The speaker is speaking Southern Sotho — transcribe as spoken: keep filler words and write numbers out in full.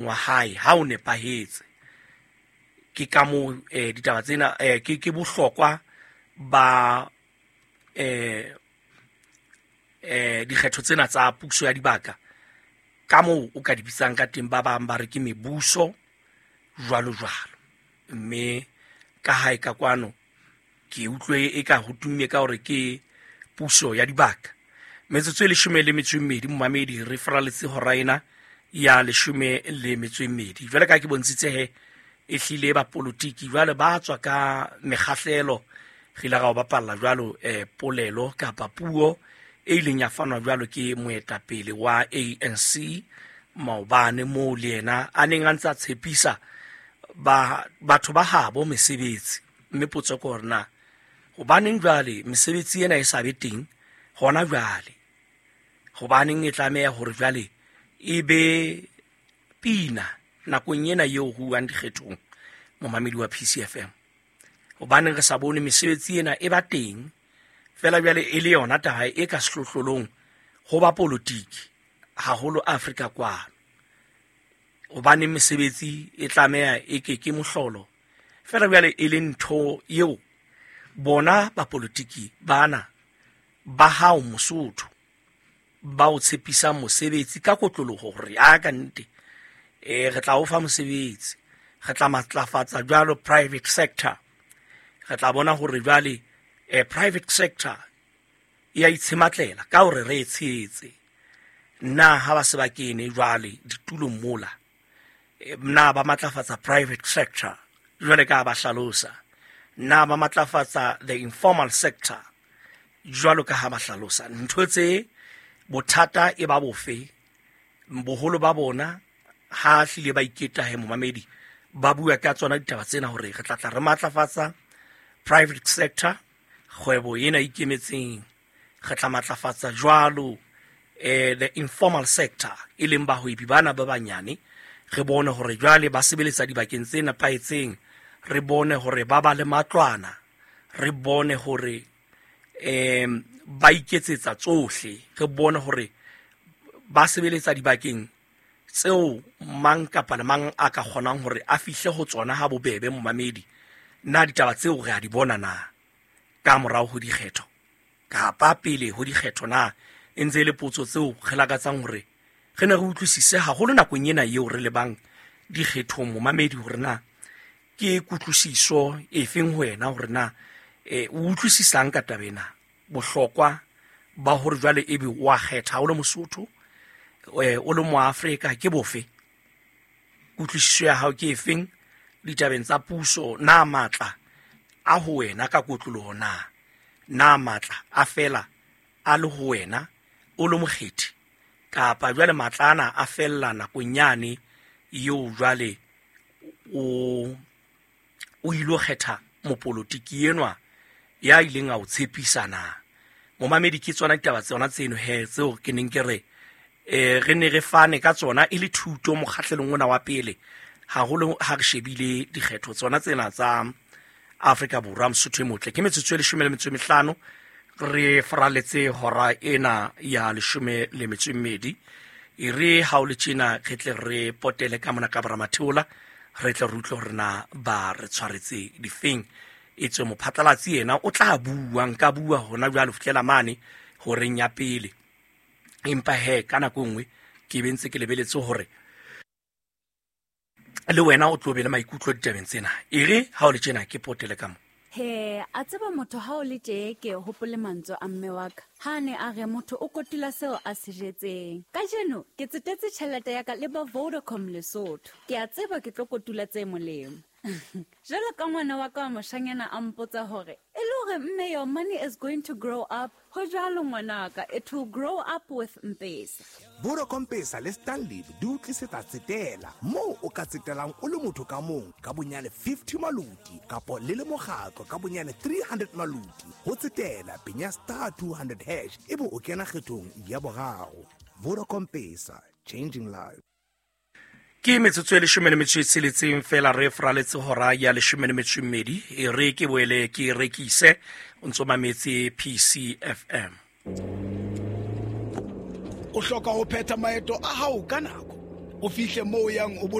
Wa hae ha o nepahetse. Ke ka moo eh, ditaba tsena eh, ke ke bohlokwa ba eh, eh, dikgetho tsena tsa puso ya dibaka, ka moo o ka di bitsang ka teng. Ba bang ba re ke mebuso, jwalo jwalo. Mme ka hae ka kwano ke utlwe e ka ho tumme ka hore ke puso ya dibaka. Metsotso e leshome le metso e mmedi, momamedi, re faraletse hora ena ya leshome le metso e mmedi. Jwale ka ke bontshitse he e hlile bapolotiki jwale ba tswa ka mekgahlelo. Re ile ra o bapalla jwalo eh, polelo kapa puo e ileng ya fanwa jwalo ke moetapele wa A N C maobane, moo le yena a neng a ntse a tshepisa ba batho ba habo mesebetsi. Mme potso ke hore na hobaneng jwale mesebetsi ena e sa be teng hona jwale? Hobaneng e tlameha hore jwale e be pina nakong ena eo ho uwang dikgethong, momamedi wa P C F M? Hobaneng re sa bone mesebetsi ena e ba teng fela jwale e le yona taba e ka sehlohlolong ho ba politiki haholo Afrika kwano? Hobaneng mesebetsi e tlameha e ke ke mohlolo fela jwale e le ntho eo bona bapolitiki bana ba hao Mosotho ba o tshepisang mosebetsi ka kotloloho, hore a ka nnete eh re tla o fa mosebetsi, re tla matlafatsa jwalo private sector, re tla bona hore jwale eh, private sector e ya itshematlela ka hore re e tshehetse? Na ha ba se ba kene jwale ditulong mola, eh, na ba matlafatsa private sector jwale ka ba hlalosa? Na ba matlafatsa the informal sector jwalo ka ha ba hlalosa? Ntho tse bothata e ba bofe? Boholo ba bona ha hlile ba iketa he, momamedi, ba bua ka tsona ditaba tsena hore re tla tla re matlafatsa private sector, kgwebo ena e ikemetseng, re tla matlafatsa jwalo eh, the informal sector, e leng bahwebi bana ba banyane, re bone hore jwale ba sebeletsa dibakeng tse nepahetseng, re bone hore ba ba le matlwana, re bone hore um ba iketsetsa tsohle, re bone hore ba sebeletsa dibakeng tseo mang kapa le mang a ka kgonang hore a fihle ho tsona ha bobebe. Momamedi, na ditaba tseo re a di bona na ka morao ho dikgetho kapa pele ho dikgetho? Na e ntse e le potso tseo re lakatsang hore re ne re utlwisise haholo nakong ena eo re lebang dikgethong, momamedi, hore na ke kutlwisiso e feng ho wena, hore na eh, o utlwisisang ka taba ena, bohlokwa ba hore jwale ebe wa kgetha o le Mosotho, eh, o le Moafrika, ke bofe? Kutlwisiso ya hao ke efeng ditabeng tsa puso? Na matla a ho wena ka kotloloho? Na na matla a fela a le ho wena o le mokgethi, kapa jwale matla ana a fella nakong yane eo jwale o o ilo kgetha mopolotiki enwa ya ileng a o tshepisa na? Momamedi, ke tsona ditaba tsona tseno he tseo ke neng ke re eh re ne re fane ka tsona e le thuto mokgahlelong ona wa pele, haholo ha re shebile dikgetho tsona tsena tsa Afrika Borwa. Mosotho e motle, ke metsotso e leshome le metso e mehlano re faraletse hora ena ya leshome le metso e mmedi. E re ha o le tjena re tle re potele ka mona ka boramatheola, re tle re utlwe hore na ba re tshwaretse difeng. E tswe mophatlalatsi yena o tla bua, nka bua hona jwale ho fihlela mane horeng ya pele, empa he ka nako e nngwe ke be ntse ke lebeletse hore le wena o tlo be le maikutlo ditabeng tsena. E re ha o le tjena ke potele ka mo. He, a tseba motho ha o le tje, ke hopole mantswe a mme wa ka ha a ne a re motho o kotula seo a se jetseng. Kajeno ke tsetetse tjhelete ya ka le ba Vodacom Lesotho, ke a tseba ke tlo kotula tse molemo. Jwalo ka ngwana wa ka wa moshanyana a mpotsa hore e le hore, "Mme, your money is going to grow up." Ho jwalo, ngwanaka, it will grow up with M-Pesa. Vodacom Pesa le Stanlib di o tlisetsa tsetela moo o ka tsetelang o le motho ka mong ka bonyane fifty maloti, kapo le le mokgatlo ka bonyane three hundred maloti. Ho tsetela, penya star two hundred hash, ebe o kena kgethong ya boraro. Vodacom Pesa, changing lives. Ke metsotso e leshome le metso e tsheletseng fela re faraletse hora ya leshome le metso e mmedi. E re ke boele ke rekise. O ntso mametse P C F M. O hloka ho phetha maeto a hao ka nako. O fihle moo o yang o